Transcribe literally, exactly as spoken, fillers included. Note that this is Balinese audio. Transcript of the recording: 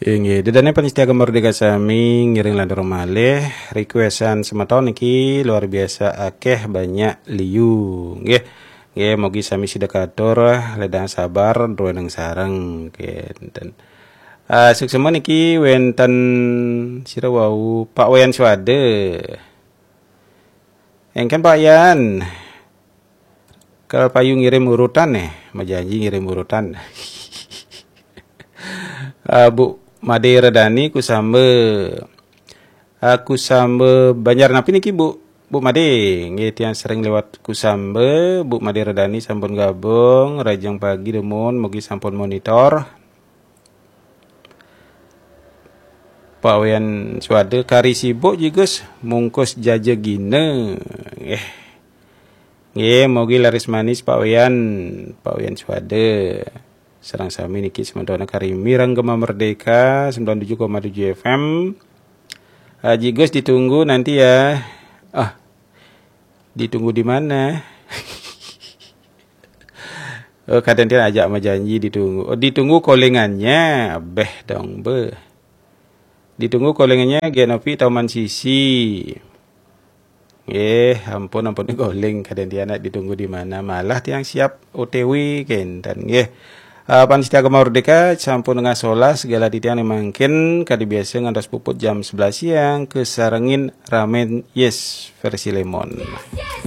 Inggih, ida dané pamiarsa Gema Merdeka sami, ngiring lantur malih requestan semeton niki luar biasa akeh, banyak liu. Nggih. Nggih, mogi sami sida katur, ledang sabar, druéning sareng, kénten. Ah, suksma niki wénten sira wau Pak Wayan Suwada. Engken Pak Yan. Kal payu ngirim urutan nih, majanji ngirim urutan. Ah, Bu Made Redani Kusamba. Ah, Kusamba Banjar napi niki, Bu? Bu Made, nggih, tiang sering lewat Kusamba. Bu Made Redani sampun gabung, rahajeng pagi dumun, mugi sampun monitor. Pak Wayan Suwada, kari sibuk Ji Gus, mungkus jaja gina. Nggih. Nggih, mugi laris manis Pak Wayan, Pak Wayan Suwada. Sareng sami niki sementara kari mireng Gema Merdeka sembilan tujuh koma tujuh F M. Ah, Ji Gus ditunggu nanti ya. Ah, ditunggu di mana? Oh, kadén tiang ajak majanji ditunggu. Oh, ditunggu callingannya. Abéh dong, beuh. Ditunggu callingannya, Genopi Taman Sisi. Nggih, ampun, ampun calling, kadén tiang nak ditunggu di mana. Malah tiang siap O T W kénten, nggih. Ah, pamiarsa Gema Merdeka, sampun tengah solas, segala titiang mangkin, kadi biasa ngantos puput jam sebelas siang, kesarengin ramen, yes, versi lemon.